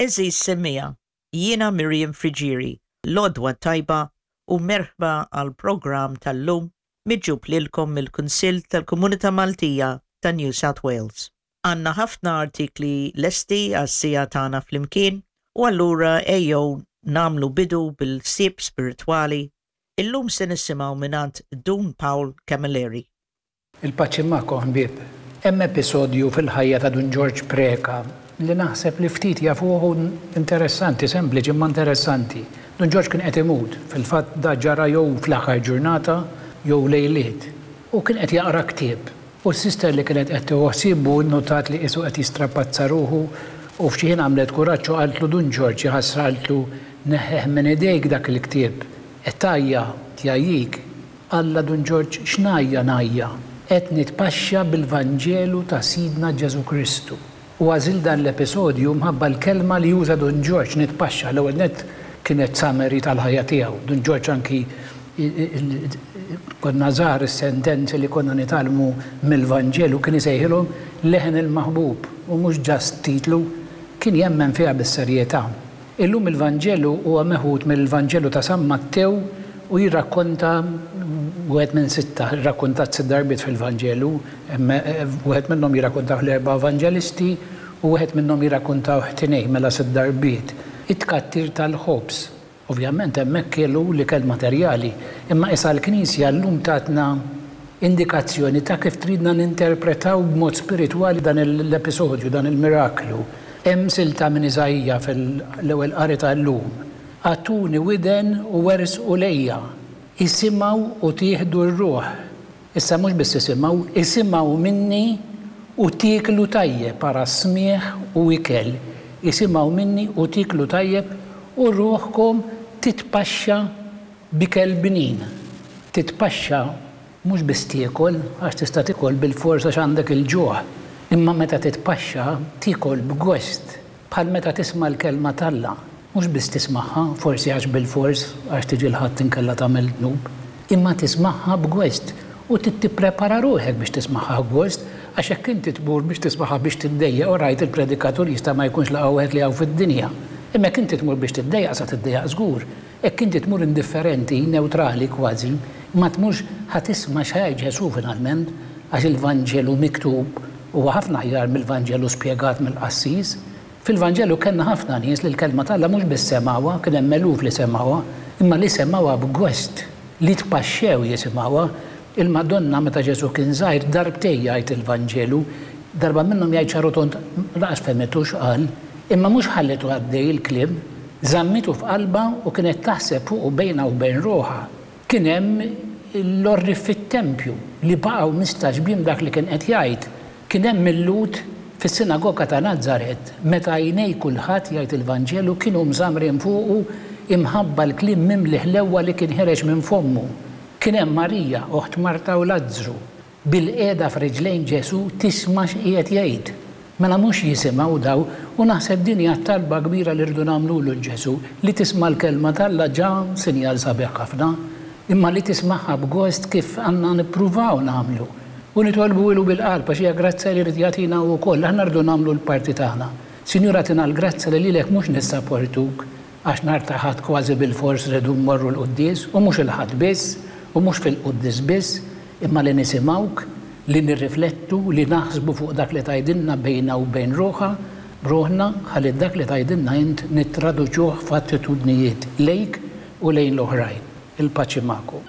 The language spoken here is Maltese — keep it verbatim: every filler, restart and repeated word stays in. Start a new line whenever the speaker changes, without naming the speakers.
Għeżież semmiegħa, jiena Miriam Friggieri, l-għodwa t-tajba u merħba għall-programm tal-lum miġjub lilkom mill-Kunsill tal-Komunità Maltija ta' New South Wales. Għandna ħafna artikli lesti għas-siegħa tagħna flimkien u allura ejjew nagħmlu bidu bil-ħsieb spiritwali. Illum se nisimgħu mingħand Dun Paul Camilleri.
Il-paċi magħkom, ħbieb. Hemm episodju fil-ħajja ta' Dun Ġorġ Preca li naħseb li ftit jafuh, interessanti, sempliċi imma interessanti. Dun Ġorġ kien qed imut, fil-fatt da ġara jew fl-aħħar ġurnata jew lejliet. U kien qed jaqra ktieb. U s-sister li kienet qed tieħu ħsiebu nnotat li qisu qed jistrapazza ruħu u f'xi ħin għamlet kuraġġ u qaltlu: "Dun Ġorġ, ħasra," qaltlu, "neħħeh minn idejk dak il-ktieb. Qed tgħajja, tgħajjik." Alla Dun Ġorġ: "X'ngħajja ngħajja? Qed nitpaxxa bil-Vanġelu ta' Sidna Ġesu Kristu." U għażilt dan l-episodju mħabba l-kelma li juża Dun Ġorġ, "nitpaxxa". L-ewwel net kienet summary tal-ħajja tiegħu. Dun Ġorġ, anki konna żgħar, is-sentenzi li konna nitgħallmu mill-Vanġelu kien isejħilhom "Leħen il-Maħbub" u mhux just titlu, kien jemmen fiha bis-serjetà. Illum il-Vanġelu huwa meħud mill-Vanġelu ta' San Mattew u jirrakkonta wieħed minn sitta, rakkontat sitt darbiet fil-Vanġelu, wieħed minnhom jirrakkontaw l-erba' evanġelisti u wieħed minnhom jirrakkontaw tnejn, mela sitt darbiet. It-tkattir tal-ħobż. Ovvjament hemmhekk kielu l-ikel materjali, imma issa l-Knisja llum tatna indikazzjoni ta' kif tridna ninterpretaw b'mod spiritwali dan l-episodju, dan il-miraklu. Hemm silta minn Iżaija fil-ewwel qari tal-lum. "Agħtuni widen u ersqu lejja, isimgħu u tieħdu r-ruħ." Issa mhux biss isimgħu, "isimgħu minni u tieklu tajjeb", para smieħ u ikel. "Isimgħu minni u tieklu tajjeb u ruħkom titpaxxa b'ikel bnin." Titpaxxa mhux biss tiekol, għax tista' tiekol bil-forsa għandek il-ġuħ. Imma meta titpaxxa tiekol b'gost, bħal meta tisma' l-kelma t'Alla. Mhux biss tismagħha, forsi għax bil-fors, għax tiġi l-Ħadd, inkella tagħmel dnub, imma tismagħha b'gost u tipprepara ruħek biex tismagħha b'gost, għax hekk inti tmur biex tismagħha biex tiddejjaq u rajt il-predikatur jista' ma jkunx l-aqwa wieħed li hawn fid-dinja. Imma jekk inti tmur biex tiddejjaq, sa tiddejjaq żgur. Hekk inti tmur indifferenti, neutrali kważi, ma tmurx ħa tisma' x'ħa Ġesu finalment, għax il-Vanġelu miktub huwa ħafna aħjar mill-Vanġelu spjegat mill-qassis. Fil-Vanġelu kellna ħafna nies li l-kelma t'Alla mhux biss semgħuha, kien hemm eluf li semgħuha, imma li semgħuha b'gost, li tpaxxew jisimgħuha. Il-Madonna, meta Ġesu kien żgħir, darbtejn jgħid il-Vanġelu, darba minnhom jgħid ċar u tond lanqas fehmitu x'qal, imma mhux ħallitu għaddej il-kliem, żammitu f'qalba u kienet taħseb fuq u bejna u bejn ruħha. Kien hemm l-għorrief fit-tempju li baqgħu mistagħġbin dak li kien qed jgħid. Kien hemm il-Lhud fis-sinagoga ta' Nazaret, meta għajnej kulħadd, jgħid il-Vanġelu, kienu mżamrin fuqu imħabba l-kliem mimli ħlewwa li kien ħereġ minn fommu. Kien hemm Marija, oħt Marta u Lazzru, bilqiegħda f'riġlejn Ġesu tisma' x'qiegħed jgħid. Mela mhux jisimgħu daw, u naħseb din hija talba kbira li rridu nagħmlu lil Ġesu: li tisma' l-kelma t'Alla ġa sinjal sabiħ ħafna, imma li tismagħha b'gost, kif għandna nippruvaw nagħmlu. U nitolbu ilu bil-qalb, għax hija grazzja li jrid jagħtina wkoll, aħna rridu nagħmlu l-parti tagħna. Sinjura, agħtina l-grazzja li lilek mhux nissaportuk għax nhar ta' Ħadd kważi bil-fors rridu mmorru l-quddies, u mhux il-Ħadd biss, u mhux fil-quddies biss, imma li nisimgħuk, li nirriflettu, li naħsbu fuq dak li tgħidilna bejna u bejn ruħa, ruħna, ħalli dak li tgħidilna int nittraduċuh f'attitudnijiet lejk u lejn l-oħrajn. Il-paċi magħkom.